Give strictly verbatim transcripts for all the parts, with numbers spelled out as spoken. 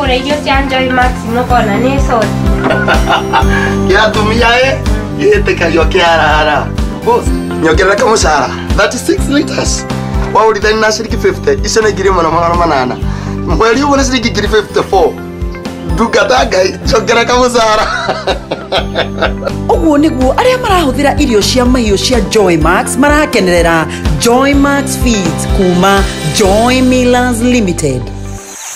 Wagũra irio cia Joy Max nũkona nĩ soti. Kĩa atumia ĩ gĩtĩkagio kĩarara. Boss, nyongerera kamũcara thirty-six liters. Waũrithania na ciringi fifty, icio nĩ ngiri ĩmwe na magana manana. Mweri ũguo nĩ ciringi ngiri fifty-four. Ndungata Ngai, njongera kamũcara. Ũguo nĩguo arĩa marahũthĩra irio cia mahiũ cia Joy Max marakenerera Joy Max Feeds kuma Joy Millers Limited.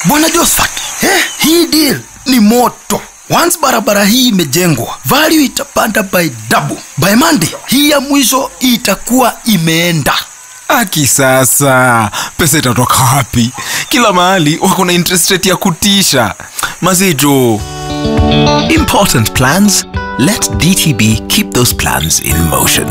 Bwana Josephat, eh, hii deal ni moto. Once barabara hii imejengwa, value itapanda by double. By Monday, hii ya mwisho itakuwa imeenda. Aki sasa, pesa itatoka wapi? Kila mahali wako na interest rate ya kutisha. Mazijo. Important plans? Let D T B keep those plans in motion.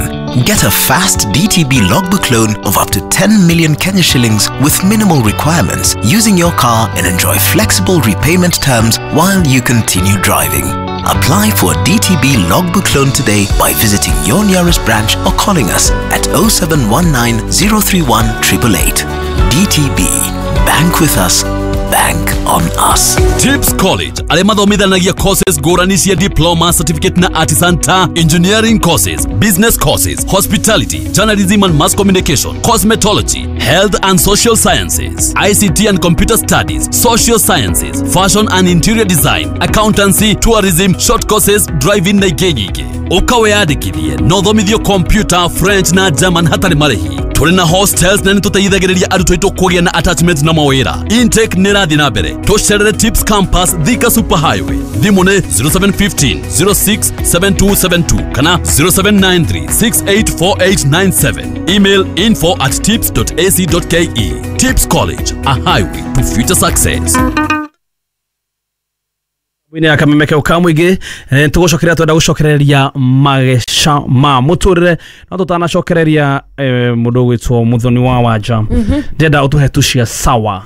Get a fast D T B logbook loan of up to ten million Kenya shillings with minimal requirements using your car and enjoy flexible repayment terms while you continue driving. Apply for a D T B logbook loan today by visiting your nearest branch or calling us at oh seven one nine, oh three one, eight eight eight. D T B. Bank with us. Bank on us. Tips College arĩa mathomithanagia courses ngũrani cia diploma, certificate na artisan ta engineering courses, business courses, hospitality, journalism and mass communication, cosmetology, health and social sciences, I C T and computer studies, social sciences, fashion and interior design, accountancy, tourism, short courses, driving na ingĩ nyingĩ. Ũka wĩyandĩkithie na ũthomithio computer, French na German hatarĩ marĩhi. Tũrĩ na hostels na nĩtũteithagĩrĩria arutwo aitũ kũgĩa na attachment na mawĩra. Intake nĩ ĩrathiĩ na mbere. Tũcerere Tips Campus, Thika Super Highway. Thimũ nĩ zero seven one five, zero six seven two seven two kana zero seven nine three, six eight four eight nine seven. Email info at tips dot a c dot k e. Tips College, a highway to future success. Wine akamemeke ukamwige tugucokeria twenda gucokereria mageca ma muturire no tutanacokereria mundu gwitwo Muthoni wa Wanja ndenda utuhe tucia sawa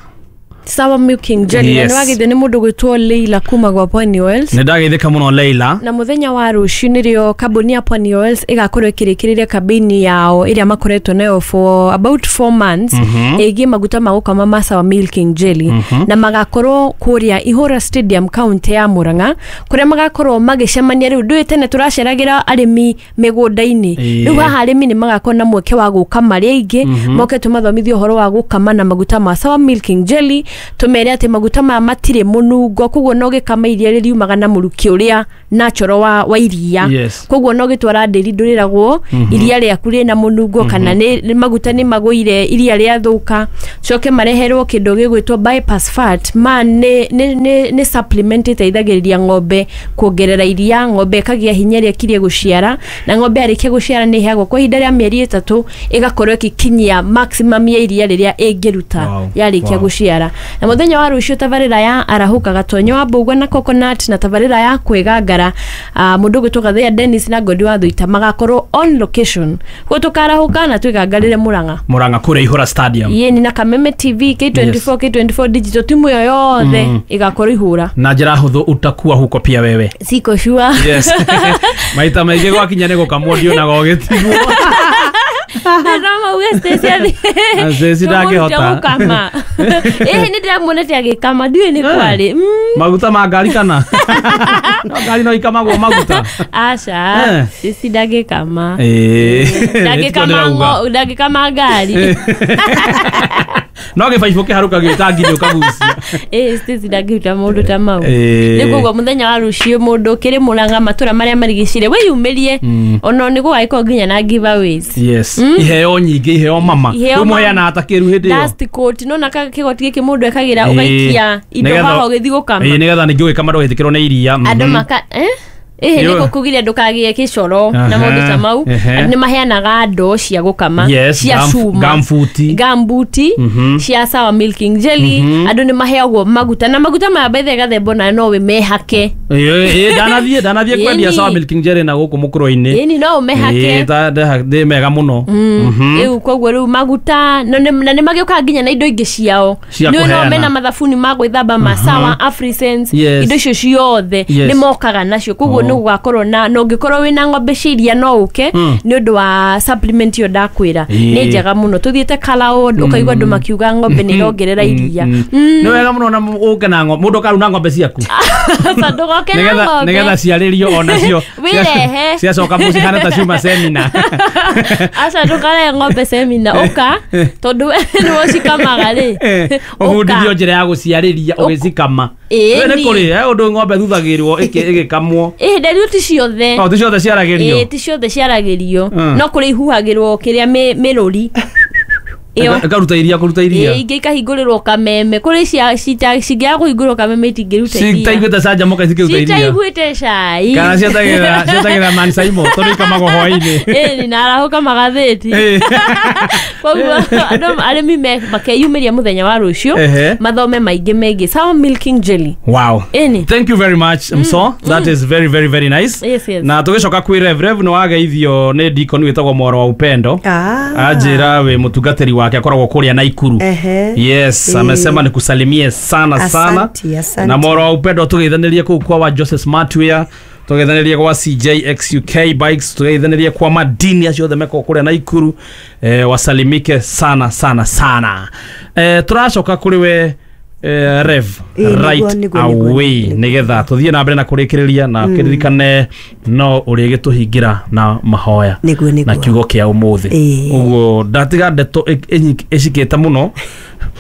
Sawa Milking Jelly. Yes. Na wagithio ni mundu gwitwo Leila kuma gwa Pwani Oils. Ni ndagithika muno Leila. Na muthenya wa rucio nirio kambuni ya Pwani Oils igakorwo ikirikiriria kambini yao iria makoretwo nayo for about four months mm -hmm. igi maguta ma gukama ma Sawa Milking Jelly mm -hmm. na magakorwo kuria Ihura Stadium county ya Murang'a kuria magakorwo magicemania. Riu ndui tene turaceragira arimi migunda-ini, riu haha arimi ni magakorwo na mweke wa guka mari aingi mm -hmm. moke tumathomithio uhoro wa gukama na maguta ma Sawa Milking Jelly. Tumere ati maguta maya matire munungo koguo no gikama iria ririumaga na muruki uria natural wa, wa iria. Yes. Koguo no gitwara ndĩri ndũrĩragwo mm -hmm. iria rĩaku rĩna munungo mm -hmm. kana nĩ maguta nĩ magũire iria rĩathũka. Coke mareherwo kĩndũ gĩgwĩtwo bypass fat ma nĩ nĩ nĩ, nĩ supplement ĩteithagĩrĩria ng'ombe kuongerera iria, ng'ombe ĩkagĩa hinya ĩrĩa ĩkirie gũciara, na ng'ombe yarĩkia gũciara nĩ ĩheagwo kwa ihinda rĩa mĩeri ĩtatũ ĩgakorwo ĩgĩkinyia maximum ya iria rĩrĩa ĩngĩruta wow. yarĩkia wow. gũciara. Na muthenya wa rucio tabarĩra ya arahuka gatonyo wa mbũgua na coconut na tabarĩra ya kwĩgangara uh, mundu gwĩtwo Gathea Dennis na Ngodi wa Thuita magakorwo on location koguo tukarahuka na twĩgangarĩre Murang'a Murang'a kũrĩa Ihura Stadium yeni na Kameme T V K twenty-four. Yes. K twenty-four digital timu yo yothe mm. igakorwo Ihura na njĩra hũthũ utakuwa huko pia wewe siko sure. Yes. Maita maingĩ gwakinya nĩ gũkamwo ndionaga ũgĩtigwo. Rama uge Stacy athi. Stacy ndangĩhota. Gũkama. Ĩĩ nĩ ndĩramuonete agĩkama ndiũĩ nĩ kwarĩ. Maguta ma ngari kana? No ngari no ikamagwo maguta. Aca, Stacy ndangĩkama. Ĩĩ. Ndangĩkama ngo, ndangĩkama ngari. No gĩbaibũ kĩharũkagio itangi-inĩ ũkagucia. Ĩĩ Stacy ndangĩruta maũndũ ta mau. Nĩ koguo mũthenya wa rũciũ mũndũ ũkĩrĩ Murang'a matũra marĩa marigicĩirie wĩyumĩrie ona nĩ gũgagĩkorwo nginya na giveaways. Yes. Iheo nyingĩ, iheo mama. Rĩu mũheanaga ta kĩru hĩndĩ ĩyo. Dust coat nona kĩgoti gĩkĩ mũndũ ekagĩra ũgaikia indo haha ũgĩthiĩ gũkama. Ĩĩ nĩgetha ningĩ ũgĩkama ndũgetĩkĩrwo nĩ iria. Andũ maka eh Ĩhĩ nĩ gũkũgiria ndũkagĩe kĩcoro na maũndũ ta mau. Andũ nĩ maheanaga ndoo cia gũkama cia cuma, gambuti gambuti cia Sawa Milking Jelly. Andũ nĩ maheagwo maguta na maguta maya bethe gathembo na no we mehake. Ĩĩ ndanathiĩ ndanathiĩ kwendia Sawa Milking Jelly na gũkũ mũkũrũ-inĩ. Ĩni no mehake. Ĩĩ ndĩ mega mũno. Rĩu koguo rĩu maguta na nĩ magĩũkaga nginya na indo ingĩ ciao. Nĩ no mena mathabuni ma gwĩthamba ma Sawa Afrisense, indo icio ciothe nĩ mokaga nacio koguo nĩ gũgakorwo na na ũngĩkorwo wĩna ng'ombe cia iria no ũke nĩ ũndũ wa supplement ĩyo ndakwĩra nĩ njega mũno tũthiĩte Kalaod ũkaigua andũ makiuga ng'ombe nĩ irongerera iria. Nĩ wega mũno na ũke na ng'ombe mũndũ ũkaruna ng'ombe ciaku ndũgoke na ng'ombe nĩgetha ciarĩrio onacio wĩrehe ciacoka mũciĩ hana ta ciuma semina. Aca ndũkarehe ng'ombe semina ũka tondũ nĩwe ũcikamaga rĩ ũbundithio njĩra ya gũciarĩria ũgĩcikama. Nĩ kũrĩ ũndũ ng'ombe thuthagĩrwo ĩgĩkamwo. Ĩĩ rĩu ti ciothe. O ti ciothe ciaragĩrio. Ĩĩ ti ciothe ciaragĩrio no kũrĩ ihuhagĩrwo kĩrĩa mĩrũri ĩkaruta iria kũruta iria. Ĩĩ ingĩ ikahingũrĩrwo kameme kũrĩ cia cingĩaga kũhingũrĩrwo kameme itingĩruta iria. Citaiguĩte canjamũka itingĩruta iria. Citaiguĩte cai. Kana cietagĩrĩra cietagĩrĩra Man Saimo tondũ ikamagwo hwaĩ-inĩ. Ĩĩ na arahũka magathĩti. Koguo andũ arĩmi makeyumĩria mũthenya wa rũciũ mathome maingĩ megiĩ Sawa Milking Jelly. Wow. Ĩni. Thank you very much Mso. That is very very very nice. Yes, yes. Na tũgĩcoka kwĩ Rev Rev nĩ wageithio nĩ deacon wĩtagwo Mworo wa Upendo. Anjĩra wĩ mũtungatĩri wake akoragwo kũrĩa Naikuru. Yes, amesema nikusalimie sana sana. Asanti, asanti. Na Mworo wa Upendo tũgeithanirie kũu kwa wa Joseph Smartwear, tũgeithanirie kwa C J X U K Bikes, tũgeithanirie kwa madini acio othe meko kũrĩa Naikuru. Eh, wasalimike sana sana sana. Eh, tũracoka kũrĩ we eh, Rev right away nigetha tuthie na mbere na kurikiriria na kiririkane no urigituhingira na mahoya na kiugo kia umuthi uguo ndatiga ndeto icikite muno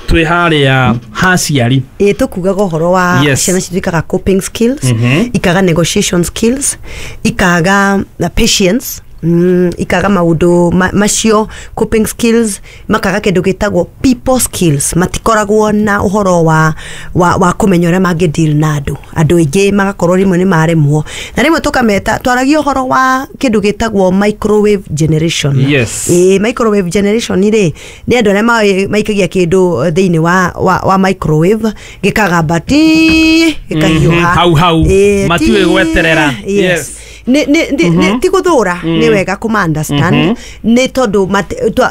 twi haria haciari ĩ tukugaga ũhoro wa ciana citũ ikaga coping skills, ikaga negotiation skills, ikaga patience, Mm, ikaga maundu ma, macio coping skills, makaga kindu gitagwo people skills, matikoragwo na uhoro wa wa, wa kumenya uria mangi deal na andu andu aingi magakorwo rimwe ni maremwo na rimwe tukameta twaragia uhoro wa kindu gitagwo microwave generation. Yes. E, microwave generation ri ni andu aria maikagia kindu thiini wa, wa, wa microwave gikagamba ti gikahiuha hau hau matiwe gweterera. Yes. Ni ni ti guthura ni wega kuma understand ni tondu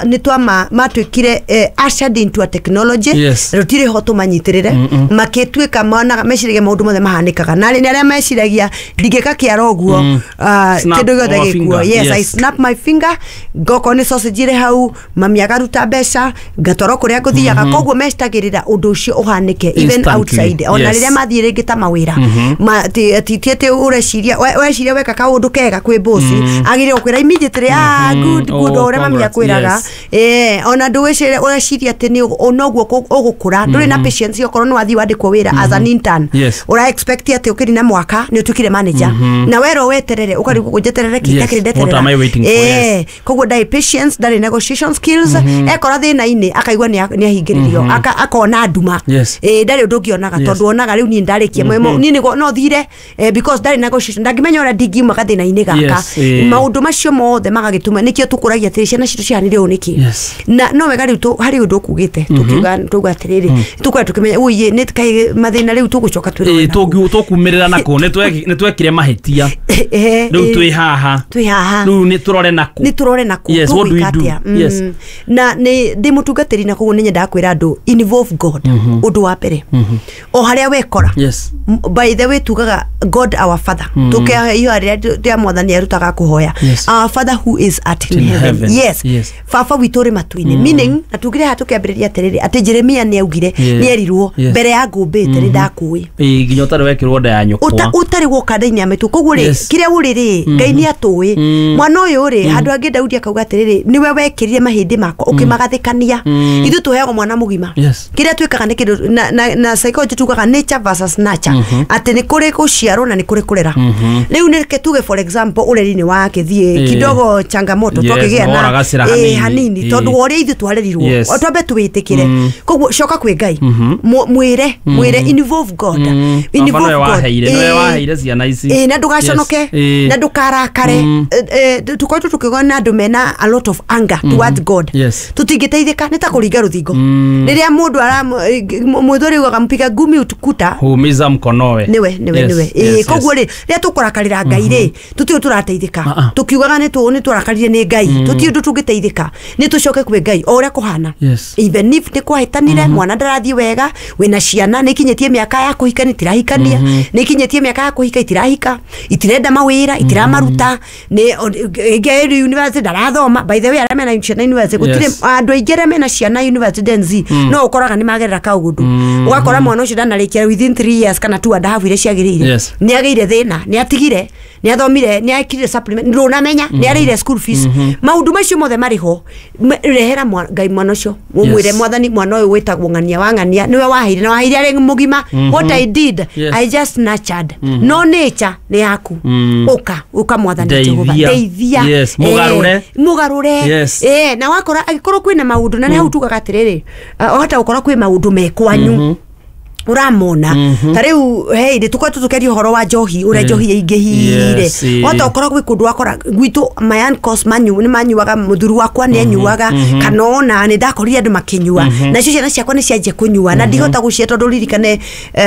ni twa matuikire ushered into a technology rutire ho tumanyitirire makituika monaga meciragia maundu mothe mahanikaga na ni aria meciragia ndingika kiara uguo kindu giothe gikuo. Yes, I snap my finger ngoko ni sausage ire hau mami agaruta mbeca ngatwarwo kuria nguthiaga koguo mecitagirira undu ucio uhanike even outside ona riria mathie ringi ta mawira ti ti ati ureciria weciria weka kaundu kega kwi bosi agire gukwira immediately ah good good uria mami akwiraga eh ona ndu ureciria ati ni onoguo ugukura nduri na patience okorwo ni wathi wandikwo wira as an intern ura expect ati ukirina mwaka ni utukire manager na wero weterere ukarigwo kunjeterere kitakire ndeterera eh koguo ndai patience ndari negotiation skills ekora thina-ini akaigua ni ahingiririo akona nduma eh ndari undu ngionaga tondu onaga riu ni ndarikia ni no thire because ndari negotiation ndangimenya uria ndingiuma gathina-ini gaka maundu macio mothe magagituma nikio tukuragia atiri ciana citu cihanire uu niki na no wega riu hari undu ukugite tukiuga tuuga atiriri tukwenda tukimenya uiye ni kai mathina riu tugucoka twirwo tukumirira nako ni twekire mahitia riu twi haha twi haha riu ni turore nako ni turore nako tugwika atia na ni ndi mutungatiri na koguo ni nyendaga kwira andu involve God undu wa mbere o haria wekora by the way tugaga God our Father tukehe iyo haria ria mwathani arutaga kuhoya our Father who is at in heaven. Yes, yes. Baba witũ ũrĩ matu-inĩ meaning na tugire ha tukiambĩrĩria atĩrĩrĩ atĩ Jeremia nĩ augire nĩ erirwo mbere ya ngũmbĩte nĩ ndakũĩ ĩ nginya ũtarĩ wekĩrwo nda ya nyũkwa ũtarĩ woka nda-inĩ ya maitũ koguo rĩ kĩrĩa ũrĩ rĩ Ngai nĩ atũĩ mwana ũyũ rĩ handũ angĩ Daudi akauga atĩrĩrĩ nĩwe wekĩrire mahĩndĩ makwa ũkĩmagathĩkania ithuĩ tũheagwo mwana mũgima kĩrĩa twĩkaga nĩ kĩndũ na na psychology tugaga nature versus nurture atĩ nĩ kũrĩ gũciarwo na nĩ kũrĩ kũrera rĩu nĩ tuge for example ũreri-inĩ wa kĩthiĩ kidogo changamoto twakĩgĩa na eh hanini tondu ũrĩa ithuĩ twarerirwo twambe twĩtĩkĩre koguo coka kwĩ Ngai mwĩre mwĩre involve God involve God nĩwe waheire ciana ici eh na ndũgaconoke na ndũkarakare tukoretwo tũkĩgwa na andũ mena a lot of anger towards God tũtingĩteithĩka nĩ ta kũringa rũthingo rĩrĩa mũndũ ara mũthuri ugaga mpiga ngumi utukuta humiza mkonowe niwe niwe niwe eh koguo rĩ rĩrĩa tũkũrakarĩra Ngai rĩ rĩ tũtirĩ tũrateithĩka tũkiugaga nĩ tũ nĩ tũrakarire nĩ Ngai tũtirĩ ũndũ tũngĩteithĩka nĩ tũcoke kwĩ Ngai o ũrĩa kũhana. Even if nĩ kwahĩtanire mwana ndarathiĩ wega wĩna ciana nĩ ikinyĩtie mĩaka ya kũhika nĩ itirahikania nĩ ikinyĩtie mĩaka ya kũhika itirahika itirenda mawĩra itiramaruta nĩ ĩngĩ university ndarathoma. By the way arĩa mena ciana university gũtirĩ andũ aingĩ arĩa mena ciana university Gen Z no ũkoraga nĩ magerera kaũndũ ũgakora mwana ũcio ndanarĩkia within three years kana two and a half iria ciagĩrĩire nĩ agĩire thĩna nĩ atigire nĩ athomire nĩ ekire supplement ndũnamenya nĩ arĩire school fees maũndũ macio mothe marĩ ho. Rehera Ngai mwana ũcio ũmwĩre mwathani mwana ũyũ wĩtagwo ng'ania wa ng'ania nĩwe waheire na waheire arĩ mũgima. What I did I just nurtured no nature nĩ yaku ũka ũka mwathani Jehova ndeithia mũgarũre mũgarũre eh na wakora angĩkorwo kwĩna maũndũ na nĩ hau tugaga atĩrĩrĩ wahota gũkorwo kwĩ maũndũ me kwanyu uramona ta riu hey ndi tukoretwo tukeria uhoro wa njohi uria njohi yaingihire wata ukorwo gwi kundu wakora gwitu my uncles manyu ni manyuaga muthuri wakwa ni anyuaga kana ona ni ndakorire andu makinyua na cio ciana ciakwa ni cianjia kunyua na ndihota gucia tondu ririkane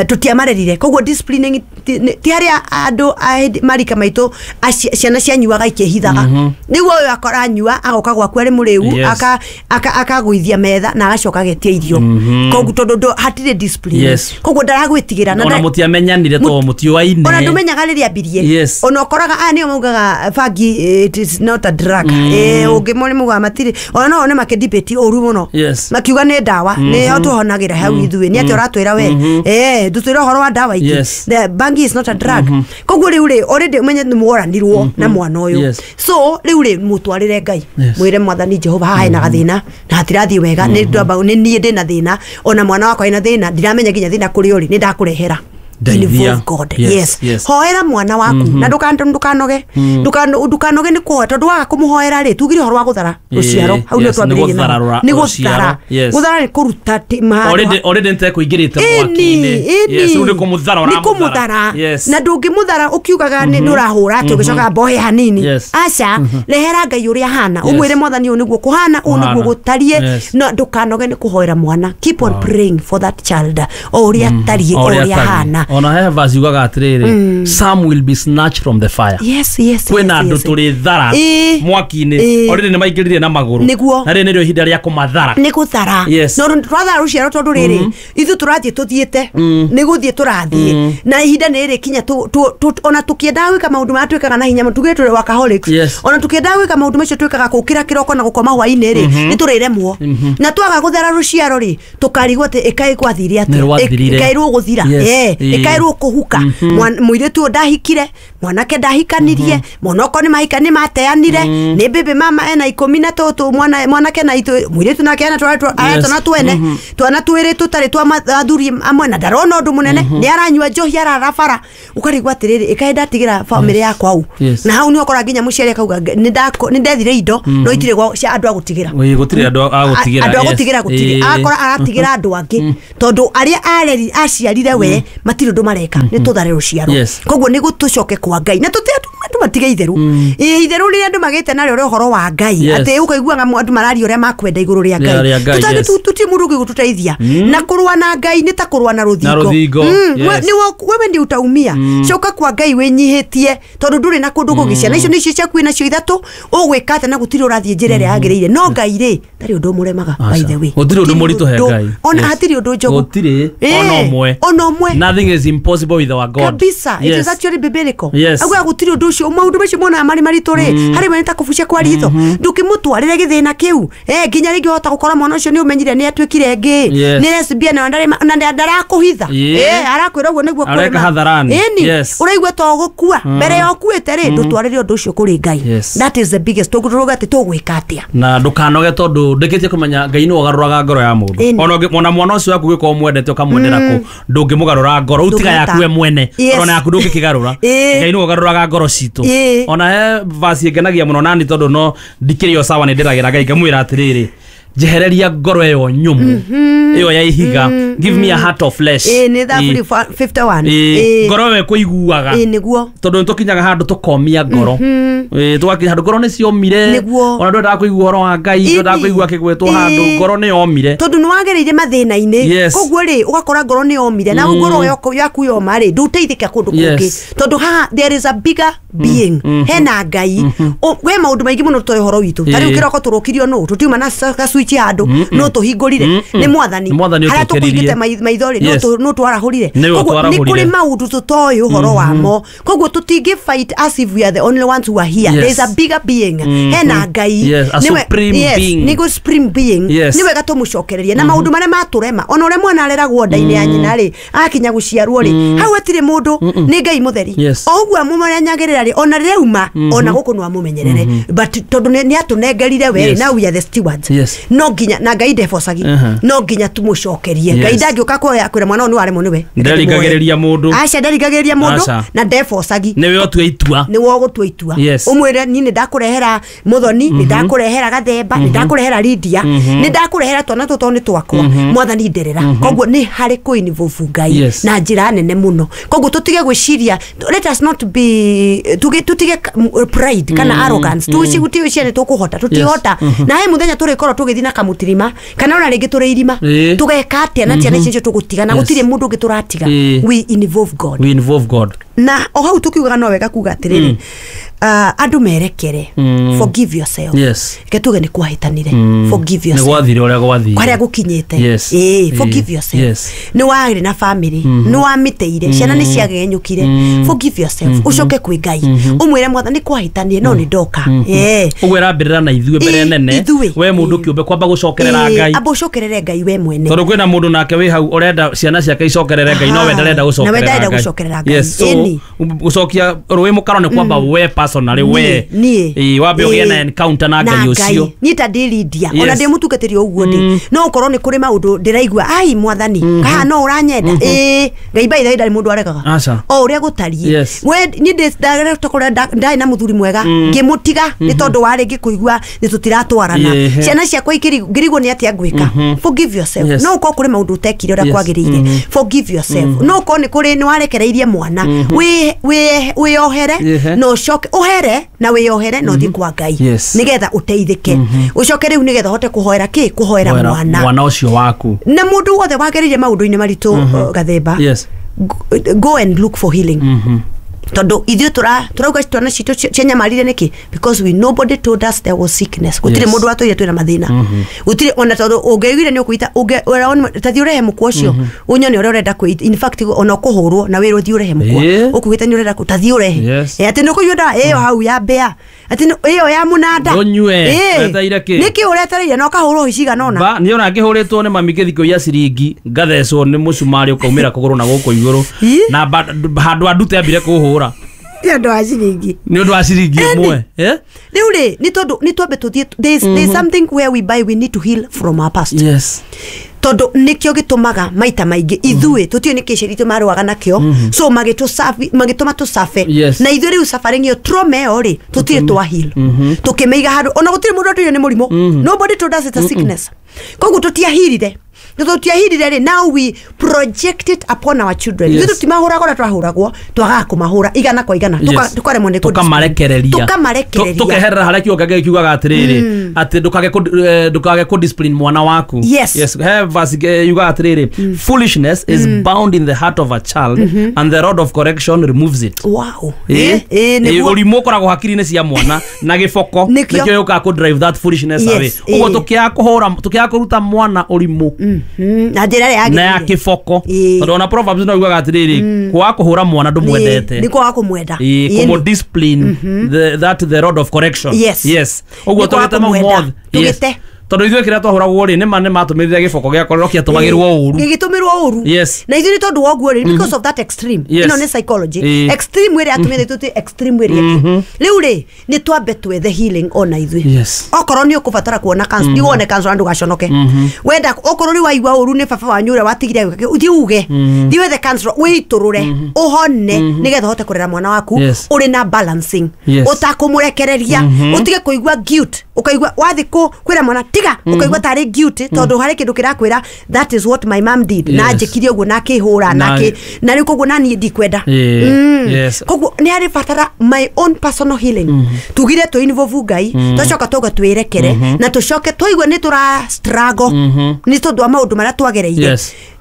tutiamarerire koguo disciplining ti haria andu marika maitu ciana cianyuaga ikihithaga niguo uyu akora anyua agoka gwaku ari muriu aka akagwithia metha na agacoka agetia irio koguo tondu hatire discipline koguo ndaragwitigira na ona mutiamenyanire to mutiuaine ona ndumenyaga riria ambirie ona ukoraga aya nio maugaga bangi it is not a drug eh ungimone muga matiri ona no one makidebate uru muno makiuga ni ndawa ni tuhonagira hau ithuĩ ni ati uratwira we eh ndutwira uhoro wa ndawa ingi the bangi is not a drug koguo riu ri already umenye ni mworanirwo na mwana uyu so riu ri mutwarire Ngai mwire mwathani Jehova haha hena gathina na hatirathii wega ni ndamba ni nie ndina thina ona mwana wakwa ena thina ndiramenya nginya thina kuri uri ni ndakurehera involve God. Yes, yes. Hoera mwana waku na ndukanoge ndukanoge ni kuhoya tondu waga kumuhoera ri tugire horo wa guthara ruciaro hau ni twambiririe ni guthara guthara ni kuruta already already nte kuingirite mwaki-ini yes ni kumuthara ni kumuthara na ndungimuthara ukiugaga ni ndurahura ati ugicoka mbohe hanini aca rehera Ngai uria hana umwire mwathani uyu niguo kuhana uyu niguo gutarie no ndukanoge ni kuhoera mwana keep on praying for that child o uria tarie o uria hana ona he verse yugaga atiriri some will be snatched from the fire. Yes yes kwina andu turi thara mwaki-ini already ni maingirire na maguru na riri nirio ihinda ria kumathara ni guthara no twathara ruciaro tondu riri ithu turathie tuthiete ni guthie turathie na ihinda ni riri kinya ona tukiendaga gwika maundu maria twikaga na hinya tuge turi workaholics ona tukiendaga gwika maundu macio twikaga gukira kiroko na gukoma hwaini ri ni turiremwo na twaga guthara ruciaro ri tukarigwo ati ikai gwathire atia ikairwo guthira eh ikairwo kuhuka muiritu ndahikire mwanake ndahikanirie monoko ni mahika ni mateanire ni bibi mama ena ikumi na tutu mwana mwanake na itu muiritu nake ena twana twene twana twiri tutari twa athuri amwe na ndarona undu munene ni aranyua njohi ararabara ukarigwa atiriri ikae ndatigira family yakwa au na hau ni ukora nginya muciari akauga ni ndethire indo no itire gwa cia andu agutigira gutire andu agutigira andu agutigira gutire akora aratigira andu angi tondu aria areri aciarire we matire undu mareka ni tuthare ruciaro koguo ni gutucoke kwa Ngai na tuti andu matige itheru itheru riria andu magite nario ri uhoro wa Ngai ati ukaiguaga andu mararia uria makwenda iguru ria Ngai tutangi tuti mundu ungi gututeithia na kurua na Ngai ni ta kurua na ruthingo ni wewe ndi utaumia coka kwa Ngai winyihitie tondu nduri na kundu kugicia na icio nicio ciaku nacio ithatu ugwika atia na gutiri urathie njira iria yagiriire no Ngai ri ndari undu muremaga by the way gutiri undu muritu he Ngai ona hatiri undu njogu gutiri ona umwe ona umwe nothing is impossible with our God kabisa. It is actually biblical. Yes. Agwa gutiri undu ucio maundu macio mona mari maritu ri hari mani ta kubucia kwa ritho ndukimutwarire githina kiu eh nginya ringi hota gukora mwana ucio ni umenyire ni atuikire ngi ni lesbian na ndari na ndarakuhitha eh arakwira uguo niguo areka hadharani. Yes. Uraigua to gukua mbere ya ukuite ri ndutwarire undu ucio kuri Ngai. That is the biggest tuguruga ati tugwika atia na ndukanoge tondu ndikitie kumenya Ngai ni ogaruraga ngoro ya mundu ona ona mwana ucio waku gwikorwo mwendete ukamwendera ku ndungimugarura ngoro utiga yaku we mwene ona yaku ndungikigarura Ngai ni ogaruraga ngoro citu ona he verse ingenagia muno nani tondu no ndikiri o sawa ni ndiragira Ngai ngamwira atiriri Njehereria ngoro ĩyo nyũmũ ĩyo ya ihiga, give me a heart of flesh. Ĩĩ nĩ thaburi fifty one. Ĩĩ ngoro ĩyo ĩkũiguaga. Ĩĩ nĩguo tondũ nĩtũkinyaga handũ tũkomia ngoro. Ĩĩ tũgakinya handũ ngoro nĩciomire, ona ndwendaga kũigua ũhoro wa Ngai, ndwendaga kũigua akĩgwetwo handũ, ngoro nĩyomire tondũ nĩwagereire mathĩna-inĩ. Koguo rĩ ũgakora ngoro nĩyomire na ngoro yaku yoma rĩ ndũteithĩka kũndũ kũngĩ tondũ haha there is a bigger being, hena Ngai. He maũndũ maingĩ mũno tũtoĩ ũhoro witũ. Ta rĩu kĩroko tũrũkirio nũ tũtiuma na gacwitch handũ no tũhingũrire nĩ mwathani, harĩa tũkũhingĩte maitho rĩ no twarahũrire. Koguo nĩ kũrĩ maũndũ tũtoĩ ũhoro wamo, koguo tũtingĩ fight as if we are the only ones who are here. There is a bigger being, hena Ngai, nĩguo supreme being. Nĩ wega tũmũcokererie na maũndũ marĩa matũrema. Ona ũrĩa mwana areragwo nda-inĩ ya nyina rĩ akinya gũciarwo rĩ hau hatirĩ mũndũ, nĩ Ngai mũtheri. O ũguo amũmenyagĩrĩra rĩ ona rĩrĩa auma ona gũkũ no amũmenyerere, but tondũ nĩ atũnengerire we now we are the stewards. No nginya na Ngai ndebocagi, no nginya tũmũcokerie. Ngai ndangĩũka kuoya kwĩra mwana ũyũ nĩ waremwo nĩwe. Nderigagĩrĩria mũndũ. Aca nderigagĩrĩria mũndũ na ndebocagi, nĩwe ũtue itua, nĩwe ũgũtua itua. Ũmwĩre niĩ nĩ ndakũrehera Mũthoni, nĩ ndakũrehera Gathemba, nĩ ndakũrehera Lydia, nĩ ndakũrehera twana tũtũ nĩ twakwa, mwathani nderera. Koguo nĩ harĩ kũ involve Ngai na njĩra nene mũno. Koguo tũtige gwĩciria, let us not be tũtige pride kana arrogance, tũtigwĩciria nĩ tũkũhota, tũtihota. Na he mũthenya tũrĩkorwo tũgĩthiĩ na kamũtirima kana ona rĩngĩ tũrĩ irima, tũgeka atĩa na ciana icio tũgũtiga na gũtirĩ mũndũ ũngĩ tũratiga. We involve God, we involve God. Na o hau tũkiugaga no wega kuga atĩrĩrĩ, andũ merekere, forgive yourself. Reke tuge nĩ kwahĩtanire, forgive yourself, nĩ gwathire ũrĩa gwathire, kwarĩa gũkinyĩte. Ĩĩ forgive yourself, nĩ warĩ na family, nĩ wamĩteire, ciana nĩ ciagenyũkire, forgive yourself, ũcoke kwĩ Ngai ũmwĩre mwathani nĩ kwahĩtanire no nĩ ndoka. Ĩĩ ũguo ĩrambĩrĩra na ithuĩ mbere nene, we mũndũ kĩũmbe kwamba gũcokerera Ngai, amba ũcokerere Ngai we mwene, tondũ kwĩna mũndũ nake wĩ hau ũrenda ciana ciake icokerere Ngai no we ndarenda gũcokerera Ngai. Yes, so gũcokia rũĩ mũkaro nĩ kwamba we personally, we ĩĩ wambe ũgĩe na encounter na Ngai ũcio. Niĩ ta ndĩ Lydia, ona ndĩ mũtungatĩri o ũguo ndĩ, no ũkorwo nĩ kũrĩ maũndũ ndĩraigua ai mwathani kaha no ũranyenda. Ĩĩ Ngai by the way ndarĩ mũndũ aregaga o ũrĩa gũtariĩ. We niĩ ndĩ ndarĩ na mũthuri mwega ngĩmũtiga nĩ tondũ warĩ ngĩkũigua nĩ tũtiratwarana, ciana ciakwa ngĩrigwo nĩ atĩa ngwĩka. Forgive yourself. No ũkorwo kũrĩ maũndũ ũtekire ũrĩa kwagĩrĩire, forgive yourself. No ũkorwo nĩ kũrĩ nĩ warekereirie mwana, wĩyohere na ũcoke ũhere na wĩyohere na ũthiĩ kwa Ngai nĩgetha ũteithĩke. Ũcoke rĩu nĩgetha ũhote kũhoera kĩ, kũhoera mwana mwana ũcio waku. Na mũndũ wothe wagereire maũndũ-inĩ maritũ Gathemba, go and look for healing. Tondũ ithuĩ tũra tũrauga twana citũ cianyamarire nĩkĩ? Because we nobody told us there was sickness. Gũtirĩ mũndũ watwĩrire twĩna mathĩna, gũtirĩ ona tondũ ũngĩaiguire nĩ ũkwĩta tathiĩ ũrehe mũkwa ũcio ũnyone ũrĩa ũrenda kwĩ, in fact ona ũkũhũrwo na wĩrwo thiĩ ũrehe mũkwa ũkũgĩta nĩ ũrenda tathiĩ ũrehe atĩ nĩ ũkũnyua ndawa ĩyo hau ya mbĩa, atĩ ĩyo ya mũnanda nĩkĩ ũretereire na ũkahũrwo cigana ũna. Niĩ ona ngĩhũrĩtwo nĩ mami ngĩthiĩ kũiya ciringi ngathecwo nĩ mũcumarĩ ũkaumĩra kũgũrũ na gũkũ igũrũ na handũ andute ambire kũhũra nĩ ũndũ wa ciringi, nĩ ũndũ wa ciringi ĩmwe. Rĩu rĩ nĩ tondũ nĩ twambe tũthiĩ, there is something where we buy we need to heal from our past. Yes, tondũ nĩkĩo gĩtũmaga maita maingĩ ithuĩ tũtiũĩ nĩkĩ ciaritũ marũaga nakĩo, so magĩtũma tũcabe na ithuĩ rĩu suffering ĩyo trauma ĩyo rĩ tũtirĩ twa heal, tũkĩmĩiga handũ ona gũtirĩ mũndũ atwĩrire nĩ mũrimũ, nobody told us it's a sickness, koguo tũtiahirire tũtiahirire rĩ, now we project it upon our children. Ithuĩ tũtimahũraga ũrĩa twahũragwo, twagaga kũmahũra igana kwa igana, tũkaremwo nĩ tũkamarekereria, tũkamarekereria, tũkeherera harĩa kiugo kĩa Ngai kiugaga atĩrĩrĩ atĩ ndũkage ndũkage kũ discipline mwana waku. Yes, he verse yugaga atĩrĩrĩ, foolishness is bound in the heart of a child and the rod of correction removes it. Wow. Eh, ũrimũ ũkoragwo hakiri-inĩ cia mwana na gĩboko nĩkĩo gĩũkaga kũ drive that foolishness away. Ũguo tũkĩaga kũhũra, tũkĩaga kũruta mwana ũrimũ na njĩra ĩrĩa na ya kĩboko, tondũ ona Proverbs no yugaga atĩrĩrĩ kwaga kũhũra mwana ndũmwendete nĩ kwaga kũmwenda, kũmũ discipline that the rod of correction. Yes, ũguo tũgĩte mau mothe tũgĩte tondu ithuĩ kĩrĩa twahũragwo rĩ nĩma nĩmatũmĩrire gĩboko gĩakorwo kĩatũmagĩrwo ũru gĩgĩtũmĩrwo ũru. Yes, na ithuĩ nĩ tondũ wa ũguo rĩ, because of that extreme, ĩno nĩ psychology extreme ĩrĩa atũmĩrĩte tũtĩ extreme ĩrĩa ĩngĩ. Rĩu rĩ nĩ twambe twethe healing ona ithuĩ. Okorwo nĩ ũkũbatara kuona cancer, nĩ wone cancer ndũgaconoke. Wenda okorwo rĩu waigua ũru nĩ baba wanyu ũrĩa watigire ũthiĩ uge, thiĩ wethe cancer wĩitũrũre ũhone nĩgetha ũhote kũrera mwana waku ũrĩ na balancing, ũtakũmũrekereria, ũtige kũigua guilt, Ukaigua wathi ku kwira mwana tiga ukaigua tari guilty tondu hari kindu kirakwira that is what my mom did. Na njikire uguo na akihura na aki na riu koguo na nie ndikwenda. Yes. Koguo ni hari batara my own personal healing. Tugire tu involve Ngai twacoka tuga twirekere na tucoke twaigua ni tura struggle ni tondu wa maundu maria twagereire.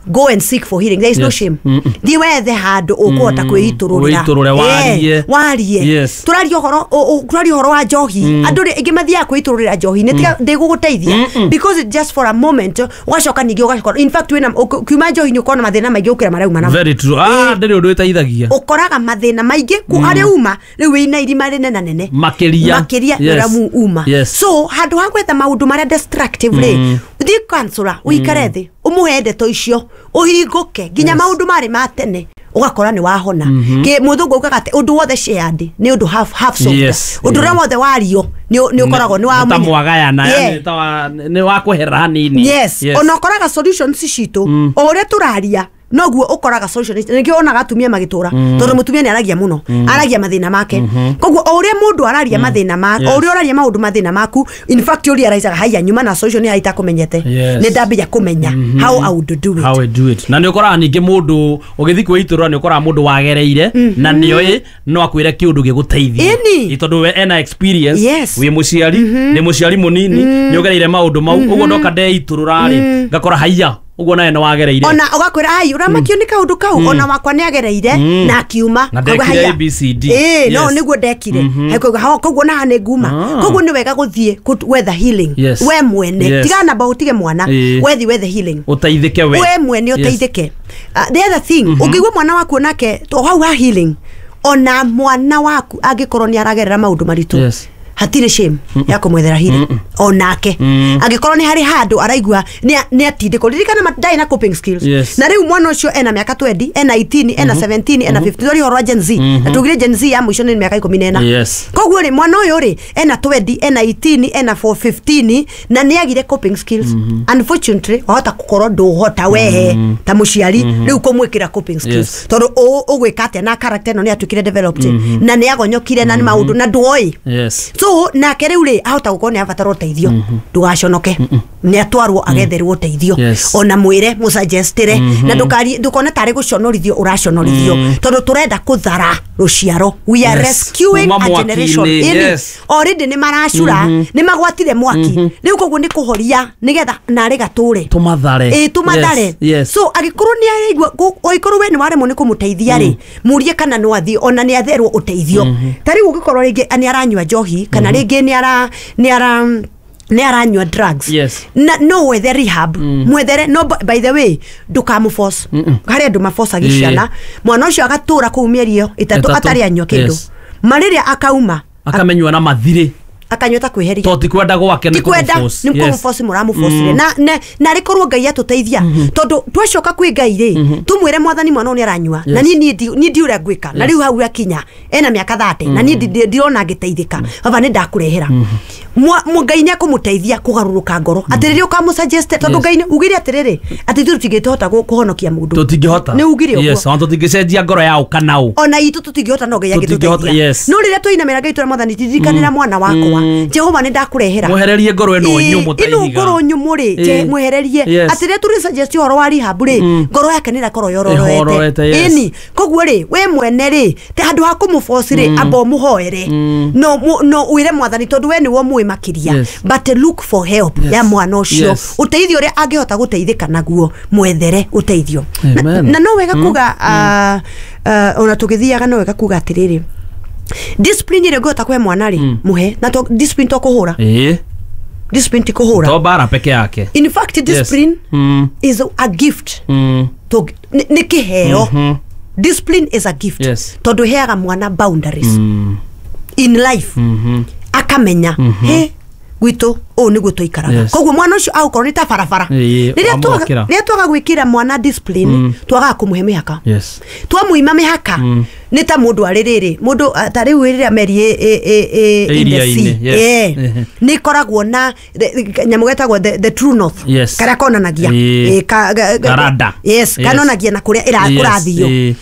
Go and seek for healing. There is yes. no shame. Thi wethe handu ukuhota kwiitururira. Warie. Warie. Yes. Turaria uhoro turaria uhoro wa njohi. Andu ingi mathiaga kwiitururira njohi ni tiga ndiguguteithia because it just for a moment ugacoka ningi ugacoka. In fact wina kiuma njohi ni ukona mathina maingi ukira maria uma namo. Very true. Ah ndiri undu iteithagia. Ukoraga mathina maingi ku aria uma riu wina irima rinene nene. Makiria. Makiria ria uma. So handu ha gwetha maundu maria destructive ri thi counselor uikare thi umuhe ndeto icio uhinguke nginya maundu mari ma tene ugakora ni wahona. Ki muthungu ugaga ati undu wothe shared ni undu half half solved. Undu uria wothe wario ni ni ukoragwo ni wa ta mwagayana yani ta ni wa kwehera hanini. Yes. Ona ukoraga solutions citu o uria turaria noguo ukoraga solution ningio onaga atumia magitura tondu mutumia ni aragia muno aragia mathina make koguo o uria mundu araria mathina ma o uria araria maundu mathina maku in fact uria araicaga haya nyuma na solution ni haitakumenyete ni ndambia kumenya how I would do it how I do it na ni ukoraga ningi mundu ugithi kwiiturura ni ukoraga mundu wagereire na nioĩ no akwire kiundu giguteithia tondu we ena experience wi muciari ni muciari munini ni ugereire maundu mau uguo ndoka ndeiturura ri ngakora haiya uguo nawe no wagereire ona ugakwira ai uramakio ni kaundu kau ona wakwa ni agereire na akiuma na ndekire A B C D eh no niguo ndekire koguo koguo na ni nguma koguo ni wega guthie gwetha healing we mwene tiga namba utige mwana wethi wethe healing uteithike we we mwene uteithike. The other thing ungigua mwana waku nake to hau ha healing ona mwana waku angikorwo ni aragerera maundu maritu hatire shame ya kumwethera healing onake angikorwo ni hari handu araigua ni atindiko ririkana ndai na coping skills yes. Na riu mwana ucio ena miaka twenty ena eighteen ena seventeen ena fifteen tori horo Gen Z na tugire Gen Z ya mwisho ni miaka ikumi na ena yes. Koguo ri mwana uyu ri ena twenty ena eighteen ena four fifteen na ni agire coping skills. mm -hmm. Unfortunately wahota gukorwo nduhota wehe mm -hmm. ta muciari riu kumwikira coping skills yes. Tondu ugwika atia na character no ni atuikire developed mm -hmm. na ni agonyokire na ni maundu na nduoi yes. So nake riu ri ahota gukorwo ni abatara uteithio ndugaconoke ni atwarwo agetherwo uteithio ona mwire musuggestire na ndukari ndukone tari guconorithio uraconorithio tondu turenda kuthara ruciaro. We are rescuing a generation. Already ni maracura ni magwatire mwaki riu koguo ni kuhoria nigetha nari gature tumathare eh tumathare. So agikorwo ni araigua oikorwo we ni waremwo ni kumuteithia ri murie kana no athi ona ni atherwo uteithio ta riu ungikorwo ringi ni aranyua njohi kana ringi ni ara ni ara ni aranyua drugs yes. Na no wethe rehab mm. Mwethere no by the way ndukamuforce hari andu maforcagia ciana mwana ucio agatura kuu mieri iyo itatu atari anyua kindu yes. Mariria akauma akamenywa na mathiri akanyua ta kwiheria to ti kwenda gwake ni kumuforce ni kumuforce muramuforce na na rikorwo Ngai atuteithia tondu twacoka kwi Ngai ri tumwire mwathani mwana ni aranyua na ni ni ni ndi uria ngwika na riu hau akinya ena miaka thirty na ni ndirona ngiteithika baba ni ndakurehera mu Ngai ni akumuteithia kugaruruka ngoro atiriri ukamusuggest tondu Ngai ugire atiriri ati ithuĩ tutingĩhota kuhonokia mundu tutingĩhota ni ugire uguo yes on tutingĩcenjia ngoro yao kana u ona itũ tutingĩhota no Ngai angĩtũteithia no rĩrĩa twainamĩra Ngai twĩra mwathani tindirikanĩra mwana wakwa Jehova ni ndakurehera mwehererie ngoro ĩno nyũmũ ta ihiga ino ngoro nyũmũ rĩ je mwehererie atirĩ tũrĩ suggest ũhoro wa rehab rĩ ngoro yake nĩ ĩrakorwo yororoete ĩni koguo rĩ we mwene rĩ te handũ ha kũmũforce rĩ amba ũmũhoere no no wĩre mwathani tondũ we nĩwe mũĩ makĩria but look for help ya mwana ũcio ũteithio ũrĩa angĩhota gũteithĩka naguo mwethere ũteithio na no wega kuga ona tũgĩthiaga no wega kuga atĩrĩrĩ discipline ĩrĩa ũngĩhota kũhe mwana rĩ muhe na to discipline to kũhũra eh discipline ti kũhũra to bara peke yake in fact discipline mm. is a gift mm. to nĩ kĩheo mm -hmm. Discipline is a gift yes. Tondu heaga mwana boundaries mm. in life mm -hmm. akamenya mm -hmm. he gwitũ ũũ nĩguo tũikaraga yes. Koguo mwana ũcio agũkorwo nĩ ta barabara rĩrĩa rĩrĩa twaga gwĩkĩra mwana discipline mm. twagaga kũmũhe mĩhaka yes. Twamũima mĩhaka mm. nĩ ta mũndũ arĩ rĩrĩ mũndũ ta rĩu rĩrĩa meri ĩ ĩ in the sea yes. nĩ ĩkoragwo na nyamũ getagwo the, the true north yes. karĩa konanagia eh, ka, karada yes, yes. kanonanagia na kũrĩa ĩrakũrathio yes.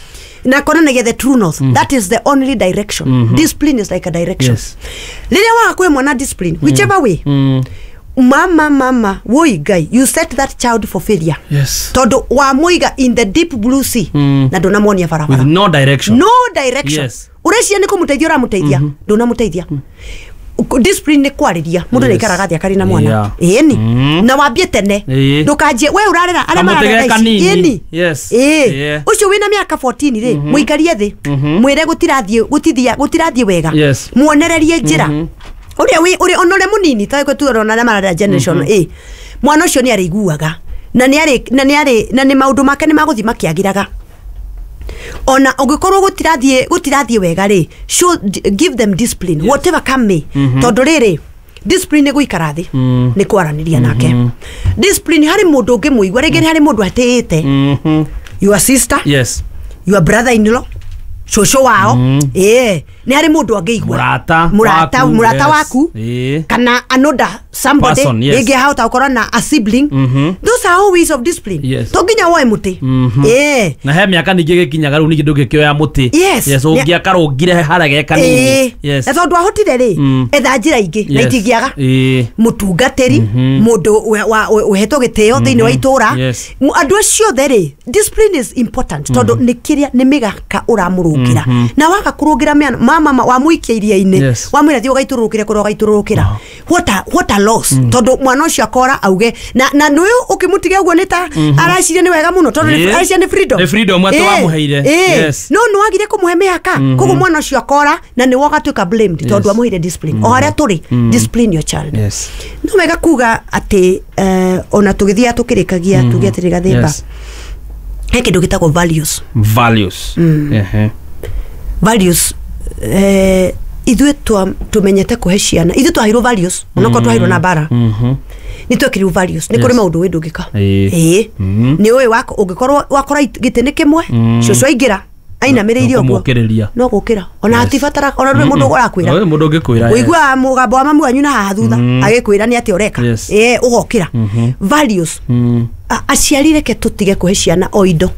Na konanagia the true north. That is the only direction. Discipline is like a direction. Yes. Rĩrĩa waga kũhe mwana discipline, whichever way, Mm. mama mama woi Ngai, you set that child for failure. Yes. Tondũ wamũiga in the deep blue sea Mm. na ndũnamuonia barabara. With no direction. No direction. Yes. Ũreciria nĩ kũmũteithia ũramũteithia, ndũnamũteithia. Discipline nĩ kwarĩria mũndũ Yes. nĩ aikaraga thĩ akarĩ na mwana. Yeah. Ĩni. Mm. Na wambie tene. Ĩĩ. Ndũkanjie we ũrarera arĩa Kamũtĩ mararera ge ici. kanini. Ĩni. Yes. Ĩĩ. Yeah. Ũcio wĩna mĩaka fourteen rĩ, mũikarie thĩ. Mwĩre gũtirathiĩ gũtithia gũtirathiĩ wega. Yes. Muonererie njĩra. Ũrĩa wĩ ũrĩa ona ũrĩa mũnini ta gwe tuona arĩa mararera generation A. Mwana ũcio nĩ arĩiguaga na nĩ arĩ na nĩ arĩ na nĩ maũndũ make nĩ magũthiĩ makĩagĩraga. Ona ũngĩkorwo gũtirathiĩ gũtirathiĩ wega rĩ, show give them discipline. Yes. Whatever come may. Tondũ rĩrĩ, discipline nĩ gũikara thĩ, nĩ kwaranĩria nake. Discipline harĩ mũndũ ũngĩmũigua, rĩngĩ nĩ harĩ mũndũ atĩĩte. Mhm. Your sister, Yes. your brother in law, cũcũ wao. Ĩĩ, nĩ harĩ mũndũ angĩigua. Mũrata Mũrata, waku, mũrata yes. waku. Ĩĩ. Kana another somebody, Person, yes. rĩngĩ ahota gũkorwo na a sibling. Those are all ways of discipline. Yes. To nginya woe mũtĩ. Ĩĩ. Na he mĩaka ningĩ gĩkinyaga rĩu ningĩ ndũngĩkĩoya mũtĩ. Yes. Yes, ũngĩakarũngire harĩa ge kanini. Ĩĩ. Yes. Na tondũ ahotire rĩ, Mm. etha njĩra ingĩ na Yes. itingĩaga. Ĩĩ. Mũtungatĩri, mũndũ wa- wa- ũhetwo gĩtĩo thĩinĩ wa itũra. Yes. M- andũ acio othe rĩ, discipline is important tondũ nĩ kĩrĩa nĩ mĩgaka ũramũrũngĩra. Na waga kũrũngĩra mĩana mama ma- wamũikia iria-inĩ, Yes. wamwĩra thiĩ ũgaitũrũrũkĩre kũrĩa ũgaitũrũrũkĩra. What a, what a loss. Tondũ mwana ũcio akora auge na na nũyũ ũkĩmũtiga ũguo nĩ ta araciria nĩ wega mũno tondũ nĩ- Ĩĩ. araciria nĩ freedom. Nĩ freedom atĩ Ĩĩ. wamũheire. Ĩĩ. Yes. No nĩ wagire kũmũhe mĩhaka. Koguo mwana ũcio akora na nĩ wogatuĩka blamed tondũ amũheire discipline. O harĩa tũrĩ, discipline your child. Yes. No wega kuga atĩ eh, ona tũgĩthiaga tũkĩrĩkagia tuge atĩrĩ Gathimba, Yes. he kĩndũ gĩtagwo values. Values. Ehe. Values, eh, ithuĩ twa- tũmenyete kũhe ciana, ithuĩ twaheirwo values onokorwo twaheirwo na mbara, Mhm. nĩ twekĩrirwo values. Nĩ kũrĩ Yes. maũndũ wĩ ndũngĩka. Ĩĩ. Ĩĩ. Mm. Nĩ ũĩ wako- ũngĩkorwo wakora it- gĩtĩ nĩ kĩmwe, cũcũ aingĩra ainamĩrĩire ũguo Ũkũmũkĩrĩria. no gũkĩra ona Yes. hatibatara ona ndũrĩ mũndũ ũrakwĩra. Ndũrĩ mũndũ ũngĩkwĩra, yes. Ũiguaga mũgambo wa mamu wanyu na haha thutha agĩkwĩra nĩ atĩa ũreka. Yes. Ĩĩ, ũgokĩra. Values. Mm. A- aciari reke tũtige kũhe ciana o indo,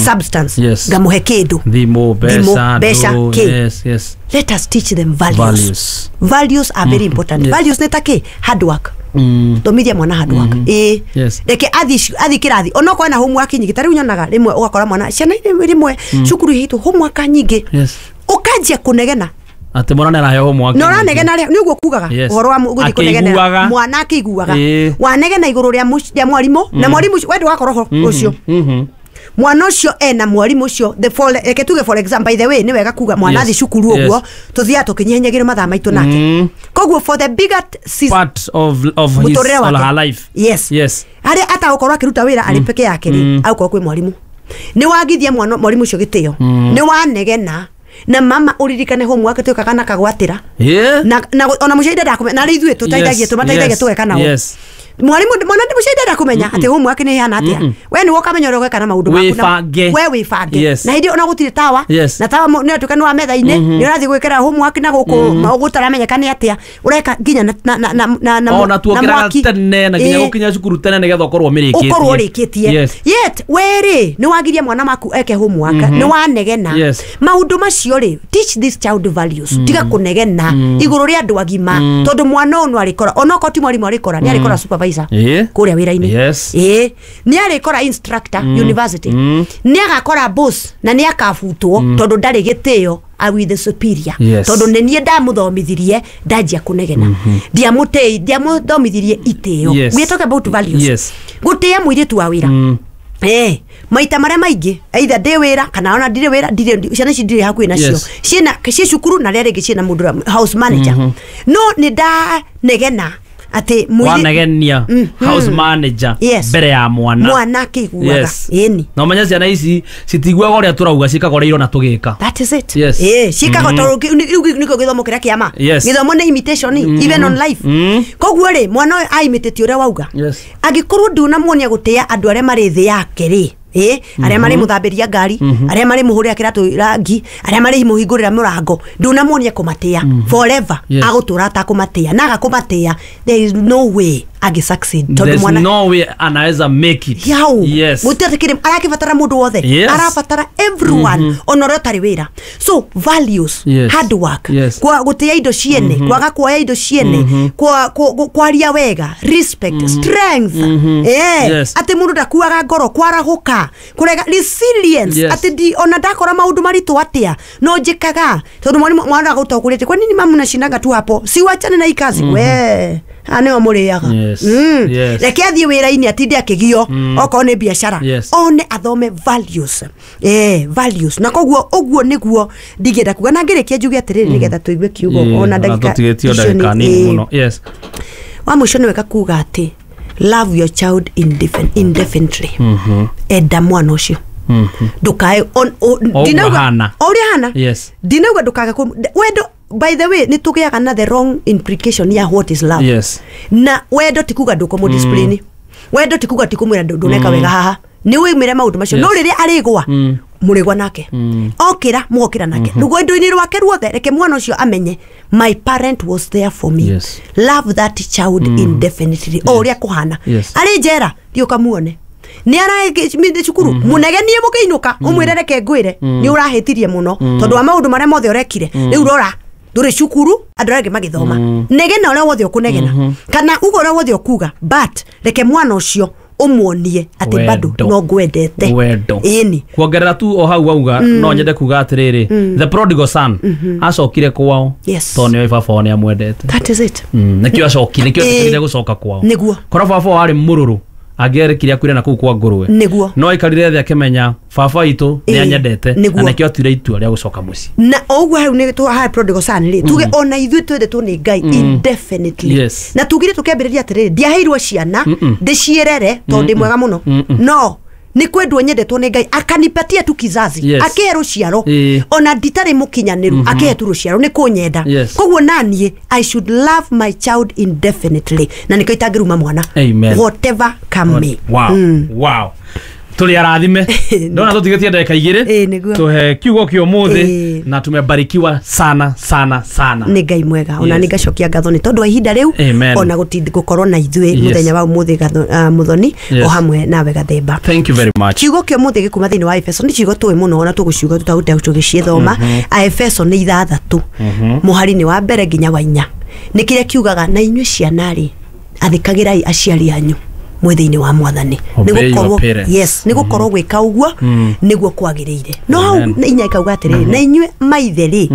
substance. Yes. Ngamũhe kĩndũ. Thimũ, mbeca, mbeca, ndũ, kĩ. Yes, yes. Let us teach them values. Values. Values are very important. Yes. Values nĩ ta kĩ? Hard work. Mm. Thomithia mwana hard work. Ĩĩ. Yes. Reke athi athi kĩrathi onokorwo ena homework nyingĩ. Ta rĩu nyonaga rĩmwe ũgakora mwana ciana rĩmwe cukuru iheitwo homework nyingĩ, Yes. ũkanjia kũnegena. Atĩ mwana nĩ araheo homework. Na ũranegena rĩ, nĩ ũguo kugaga Yes. ũhoro wa gũthiĩ kũnegenera Akĩiguaga. mwana akĩiguaga. Ĩĩ. Wanegena igũrũ rĩa mũc- rĩa mwarimũ, na mwarimũ ũcio we ndũgakorwo ho ũcio Mhm. mwana ũcio ena mwarimũ ũcio the for reke tuge for example, by the way, nĩ wega kuga mwana Yes. athi cukuru ũguo Yes. tũthiaga tũkĩnyihanyagira mathaa maitũ nake. Mm. Koguo for the bigger season, Part of of his mũtũrĩre or wake. her life. Yes. Yes. Harĩa atagũkorwo akĩruta wĩra arĩ peke yake rĩ, agũkorwo kwĩ mwarimũ. Nĩ wagithia mwana mwarimũ ũcio gĩtĩo, nĩ wanegena na mama ũririkane homework twĩkaga na kagwatĩra. Yeah. Na na ona mũciari ndendaga kũmenya, na rĩ ithuĩ tũteithagia Yes. tũmateithagia Yes. tũgeka nao. Yes. Mwarimu mwana ndi mũciari ndenda kũmenya atĩ homework nĩ ihana atĩa. We nĩwe ũkamenya ũrĩa ũgeka na maũndũ maku na- Wĩbange. we wĩbange. Yes. Na hĩndĩ ĩyo ona gũtirĩ tawa, Yes. na tawa nĩ atuĩka nĩ wa metha-inĩ, nĩ ũrathiĩ gwĩkĩra homework na gũkũ gũtaramenyeka nĩ atĩa ũreka nginya na na na na na na Ona tuokĩraga mwaki. tene na nginya Ĩĩ. gũkinya cukuru tene nĩgetha ũkorwo ũmĩrĩkĩtie. Ũkorwo ũrĩkĩtie. Yes. Yet we rĩ nĩ wagiria mwana waku eke homework, nĩ wanegena. Yes. Maũndũ macio rĩ, teach this child values. Tiga kũnegena igũrũ rĩa andũ agima, tondũ mwana ũyũ no arĩkora onokorwo ti mwarimũ arĩkora, nĩ arĩkora supervisor Ĩĩ. kũrĩa wĩra-inĩ. Yes. Ĩĩ, nĩ arĩkora instructor university, nĩ agakora boss, na nĩ akabutwo tondũ ndarĩ gĩtĩo a with the superior. Yes. Tondũ nĩ niĩ ndamũthomithirie ndanjia kũnegena, ndiamũtĩi, ndiamũthomithirie itĩo. Yes. We are talking about values. Yes. Gũtĩĩa mũirĩtu wa wĩra. Eh, maita marĩa maingĩ either ndĩ wĩra kana ona ndirĩ wĩra, ndirĩ ciana ici ndirĩ hakuhĩ nacio. Yes. Ciĩna ciĩ cukuru na rĩa rĩngĩ ciĩna mũndũ ũrĩa house manager, no nĩ ndanegena atĩ mũirĩ- Wanegenia Mhm. house manager Yes. mbere ya mwana. Mwana akĩiguaga. Yes. Ĩni. Na ũmenye ciana ici citiguaga ũrĩa tũrauga, ciĩkaga ũrĩa irona tũgĩka. That is it. Yes. Eh, ciĩkaga tondũ rĩu nĩkĩo gĩthomo kĩrĩa kĩa ma. Yes. Gĩthomo nĩ imitation even on life. Mm. Koguo rĩ, mwana ũyũ aimitĩtie ũrĩa wauga. Yes. Angĩkorwo ndũnamuonia gũtĩĩa andũ arĩa marĩ thĩ yake rĩ, ĩ arĩa marĩ mũthambĩria ngari, arĩa marĩ mũhũrĩra kĩratũ rangi, arĩa marĩ mũhingũrĩra mũrango, ndũnamuonia kũmatĩa forever. Yes. Agũtũra atakũmatĩa, na agakũmatĩa there is no way Agi succeed tondu There's mwana no way anaweza make it. Yau. Yes. Gũtirĩ arakibatara mũndũ wothe. Yes. Arabatara everyone ona ũrĩa ũtarĩ wĩra. So values, Yes. hard work, Yes. kwa gũtĩa indo ciene, kwaga kuoya indo ciene, kwa kwa- kwaria wega, respect, strength. Eh, Yes. atĩ mũndũ ndakuaga ngoro, kwarahũka, kũrega resilience, Yes. atĩ ndi ona ndakora maũndũ maritũ atĩa no njĩkaga tondũ mwarimũ mwana agũtokũrĩte kwa nini mamu nashindanga tu hapo si wachane na hii kazi we haha nĩho mũrĩaga. Yes. Mm. Yes. Reke athiĩ wĩra-inĩ atinde akĩgio okorwo nĩ biacara. Yes. One athome values, eh, values na koguo ũguo nĩguo ndingĩenda kuga na ngĩrĩkia njuge atĩrĩrĩ nĩgetha tũigue kiugo Yeah, ona ndagĩka tũtigĩtio icio nĩ- ndagĩka nini eh, mũno. Yes. Wa mũico nĩ wega kuga atĩ love your child indefin- indefinitely. Enda mwana ũcio ndukae on- o- O ũguo ndinauga- ahana. o ũrĩa ahana. Yes. Ndinauga ndukage kũ- wendo by the way nĩ tũgĩaga na the wrong implication ya what is love. Yes. Na wendo ti kuga ndũkũmũ discipline, wendo ti kuga ti kũmwĩra ndũ- ndũneka wega haha nĩ wĩmĩre maũndũ macio no Yes. rĩrĩa arĩgwa mũrĩgwa nake okĩra mũgokĩra nake rũgendo-inĩ rwake ruothe reke mwana ũcio amenye my parent was there for me. Yes. Love that child indefinitely o ũrĩa kũhana. Yes. Arĩ njera thiĩ ũkamuone nĩ ara cukuru mũnegenie mũkĩinũka ũmwĩre reke ngwĩre nĩ ũrahĩtirie mũno tondũ wa maũndũ marĩa mothe ũrekire rĩu rora ndũrĩ cukuru andũ arĩa angĩ magĩthoma negena ũrĩa wothe ũkũnegena kana uga ũrĩa wothe ũkuga but reke mwana ũcio ũmuonie atĩ bado Wendo. no ngwendete. Wendo. Ĩni. Kuongerera tu o hau wauga no nyende kuga atiriri the prodigal son acokire kwao Yes. tondũ nĩoĩ baba wao nĩ amwendete. That is it. Mm, nĩkĩo acokire nĩkĩo Ĩĩ. etĩkĩrire gũcoka kwao. Nĩguo. Korwo baba wao arĩ mũrũrũ angĩerekire akuire na kũu kwa ngũrwe Nĩguo. no aikarire thĩ akĩmenya baba witũ nĩ Ĩĩ. anyendete na Nĩguo. nĩkĩo atuire itua rĩa gũcoka mũciĩ. Na o ũguo hau nĩ tũ harĩ prodigal son rĩ tuge ona ithuĩ twendetwo nĩ Ngai indefinitely. Yes. Na tugire tũkĩambĩrĩria atĩrĩrĩ ndiaheirwo ciana ndĩciĩrere tondũ ndĩ mwega mũno no nĩ kwendwo nyendetwo nĩ Ngai akanipatia tu kizazi. Yes. Akĩhe rũciaro Ĩĩ. ona nditarĩ mũkinyanĩru akĩhe tu rũciaro nĩ kũnyenda. Yes. Koguo naniĩ I should love my child indefinitely na nĩkĩo itangĩruma mwana. Amen. Whatever come may. Wow. Wow. Tũrĩ arathime ndona tũtigĩtie ndagĩka igĩrĩ Ĩĩ, nĩguo. tũhe kiugo kĩa ũmũthĩ Ĩĩ. na tumebarikiwa sana sana sana. Nĩ Ngai mwega ona Yes. nĩ ngacokia ngatho nĩ tondũ wa ihinda rĩu Amen. ona gũtindi gũkorwo na ithuĩ Yes. mũthenya wa ũmũthĩ gatho- ah, mũthoni Yes. o hamwe nawe gathemba. Thank you very much. Kiugo kĩa ũmũthĩ gĩkuma thĩinĩ wa Efeso nĩ ciugo tũĩ mũno ona tũgũciuga tũtagũte tũgĩciĩthoma. Aefeso nĩ ithathatũ mũhari-inĩ wa mbere nginya wa inya nĩ kĩrĩa kiugaga na inyuĩ ciana rĩ athĩkagĩrai aciari anyu mwĩ thĩinĩ wa mwathani. Obey your Nĩgũkorwo- parents. yes nĩ gũkorwo gwĩka ũguo nĩguo kwagĩrĩire no hau Amen. na inya ikauga atĩrĩrĩ na inyuĩ maithe rĩ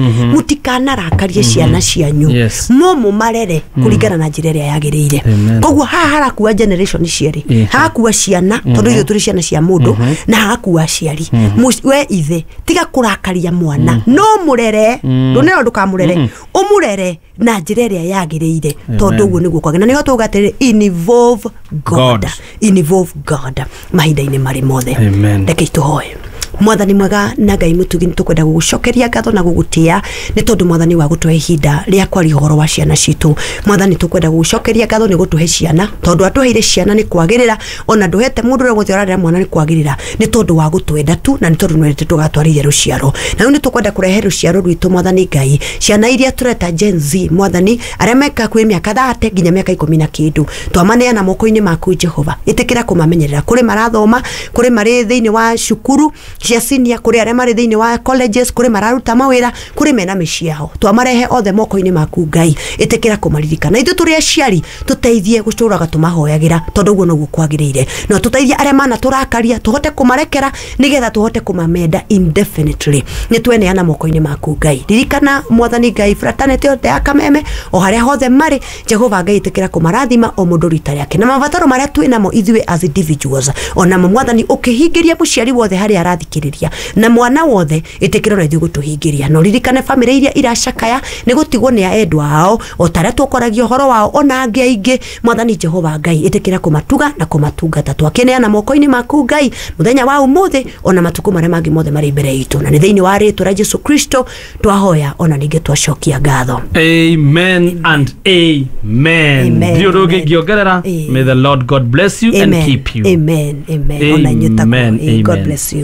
mũtikanarakarie ciana cianyu Yes. no mũmarere kũringana na njĩra ĩrĩa yagĩrĩire. Amen. Koguo haha harakua generation cierĩ Ĩĩ. hagakua ciana tondũ ithuĩ tũrĩ ciana cia mũndũ na hagakua aciari. Mũci- we ithe tiga kũrakaria mwana no mũrere ndũnero ndũkamũrere ũmũrere na njĩra ĩrĩa yagĩrĩire tondũ ũguo nĩguo kwagĩrĩire na nĩho tuuga atĩrĩrĩ involve God. God. Involve God mahinda-inĩ marĩ mothe. Amen. Reke tũhoe. Mwathani mwega na Ngai mũtugi nĩ tũkwenda gũgũcokeria ngatho na gũgũtĩa nĩ tondũ mwathani wa gũtũhe ihinda rĩa kwaria ũhoro wa ciana citũ. Mwathani tũkwenda gũgũcokeria ngatho nĩ gũtũhe ciana tondũ atũheire ciana nĩ kwagĩrĩra ona ndũhete mũndũ ũrĩa wothe ũrarera mwana nĩ kwagĩrĩra nĩ tondũ wa gũtwenda tu na nĩ tondũ nĩwendete tũgatwarithia rũciaro na rĩu nĩ tũkwenda kũrehe rũciaro rwitũ mwathani Ngai ciana iria tũreta Gen Z mwathani arĩa meka kwĩ mĩaka thate nginya mĩaka ikũmi na kĩndũ twamaneana moko-inĩ maku Jehova ĩtĩkĩra kũmamenyerera kũrĩ marathoma kũrĩ marĩ thĩinĩ wa cukuru cia senior kũrĩ arĩa marĩ thĩinĩ wa colleges kũrĩ mararuta mawĩra kũrĩ mena mĩciĩ yao twamarehe othe moko-inĩ maku Ngai ĩtĩkĩra kũmaririkana ithuĩ tũrĩ aciari tũteithie gũtũraga tũmahoyagĩra tondũ ũguo noguo kwagĩrĩire no tũteithie arĩa manatũrakaria tũhote kũmarekera nĩgetha tũhote kũmamenda indefinitely nĩ tweneana moko-inĩ maku Ngai ririkana mwathani Ngai fraternity yothe ya Kameme o harĩa hothe marĩ Jehova Ngai ĩtĩkĩra kũmarathima o mũndũ rita rĩake na mabataro marĩa twĩ namo ithuĩ as individuals onamo mwathani ũkĩhingĩria mũciari wothe harĩa arathikĩrĩria na mwana wothe ĩtĩkĩra ona ithuĩ gũtũhingĩria no ririkane bamĩrĩ iria iracakaya nĩ gũtigwo nĩ endwa ao o tarĩa tũkwaragia ũhoro wao ona angĩ aingĩ mwathani Jehova Ngai ĩtĩkĩra kũmatuga na kũmatungata twakĩneana moko-inĩ maku Ngai mũthenya wa ũmũthĩ ona matukũ marĩa mangĩ mothe marĩ mbere itũ na nĩ thĩinĩ wa rĩtwa rĩa Jesu Kristo twahoya ona ningĩ twacokia ngatho. Amen and amen. Amen. Ndirĩ ũndũ ũngĩ ingĩongerera. Amen. May the Lord God bless you and Amen. keep you. Amen. Amen. Ona inyuĩ taguo. Amen. God Amen. bless you.